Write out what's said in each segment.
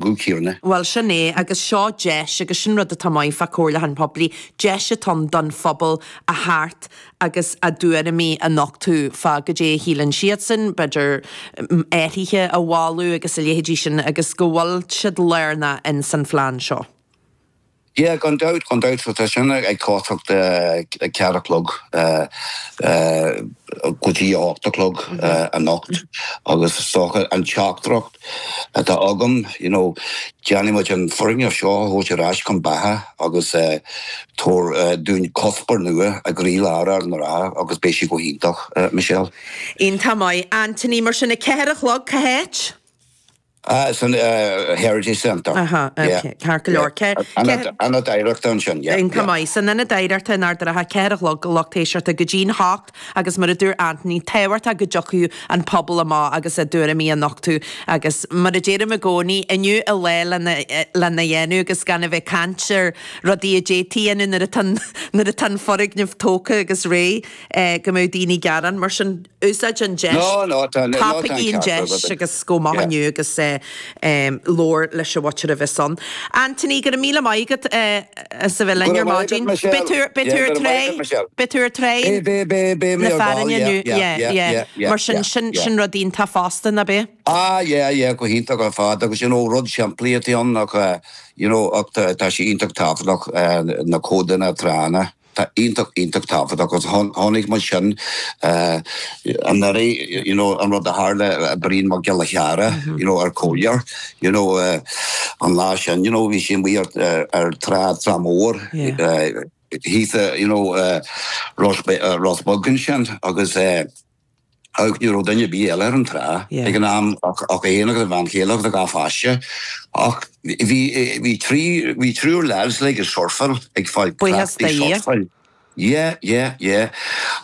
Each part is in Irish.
Guth céanna. Bhuel, sin é, agus seo deis, agus sin rud atá maith fá comhairliúchán poiblí, deis atá ann don phobal a theacht agus a dtuairimí a nochtadh fá goidé a shíleann siadsan, b'fhéidir athruithe a mholadh agus a leithéidí sin agus go bhfuil siad lárnach ins an phlean seo. Yeah, gan dabht, gan dabht. So tá sin ag tosacht ag 4 a chlog go dtí 8 a chlog anocht agus is dócha an teachtaireacht atá agam, you know, déanfaidh muid an foirgneamh seo a thabhairt ar ais chun beatha agus tabhair dúinn cuspóir nua i gcroílár Ard an Rátha agus beidh sé go hiontach, Michelle. Iontach maith. Anthony, mar sin, 4 a chlog, cá háit? Ah, san Heritage Centre. Aha, ok, ceart go leor. Ionad Oidhreachta ansin, yeah. Iontach maith. San Ionad Oidhreachta in Ard an Rátha, 4 a chlog, lucht éisteachta go dtí'n hocht agus mar a dúirt Anthony, tábhachtach go dtiocfadh an pobal amach agus a dtuairimí a nochtadh agus mar a deirim i gcónaí, inniu an lá lena lena dhéanamh agus gan a bheith ag caint ar rudaí a d'fhéadfaí a dhéanamh nuair atá nuair atá an foirgneamh tógtha agus réidh go mbeadh daoine ag gearán. Mar sin. Úsáid an deis, tapaigí an deis agus gabh amach inniu agus labhair leis an mhuintir a bheas ann. Anthony, go raibh míle maith agat as a bheith linn ar maidin. Beidh tú ar tráigh, beidh tú ar tráigh na Fearthainne inniu, yeah, yeah. Mar sin, sin, sin rud iontach fosta, nach bea? Ah, yeah, yeah, go hiontach ar fad agus you know rud simplí atá ann ach you know ach tá sé iontach tábhachtach na codanna tránna. Tá iontach, iontach tábhachtach agus chonaic muid sin anuraidh, you know, an rud a tharla Brian Mac Giolla Cheara, you know, ar Comhairleoir, you know, an lá sin, you know, bhí sé amuigh ar, ar trá, trá mór, thíos, you know, Ros, Ros Beag ansin agus, Ach ní raibh duine ar bith eile ar an trá ag an am ach é féin agus a bhean chéile agus a dhá pháiste. Ach bhí bhí trí bhí triúr lads like ag surfáil ag fáil Buíochas cleachtaidh do Dhia. surfáil. Yeah, yeah, yeah.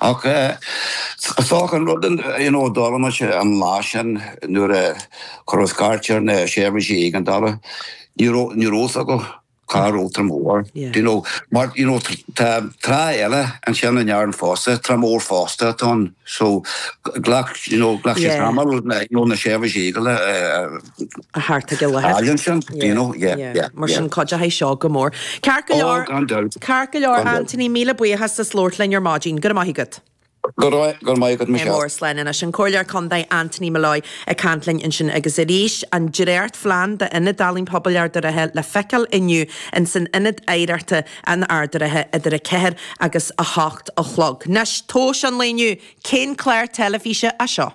Ach is dócha an rud you know a d'fhoghlaim muid an lá sin nuair a cuireadh scairt ar na seirbhísí éigeandála, ní raibh ní raibh fhios acu. Cá raibh Trá Mhór? Do you know, mar, you know, tá trá eile ansin in Árainn fosta, trá mhór fosta atá ann, so ghlac, you know, ghlac sé tamall na, you know, na seirbhísí éigeandála a theacht ag an láthair. fháil ansin, do you know, yeah, yeah, yeah. Mar sin cuideoidh seo go mór. Ceart go leor, Oh, gan dabht. ceart go leor, Anthony, míle buíochas as labhairt linn ar maidin. Go raibh maith agat. Go raibh maith agat, Michelle. Mór slán anois. An Comhairleoir Contae Anthony Molloy ag caint linn ansin agus arís an dréachtphlean d'Ionad Ealaíon Pobail Ard an Rátha le feiceáil inniu ins an Ionad Oidhreachta in Ard an Rátha idir 4 agus 8 a chlog. Anois, tomhas an lae inniu, cén clár teilifíse é seo?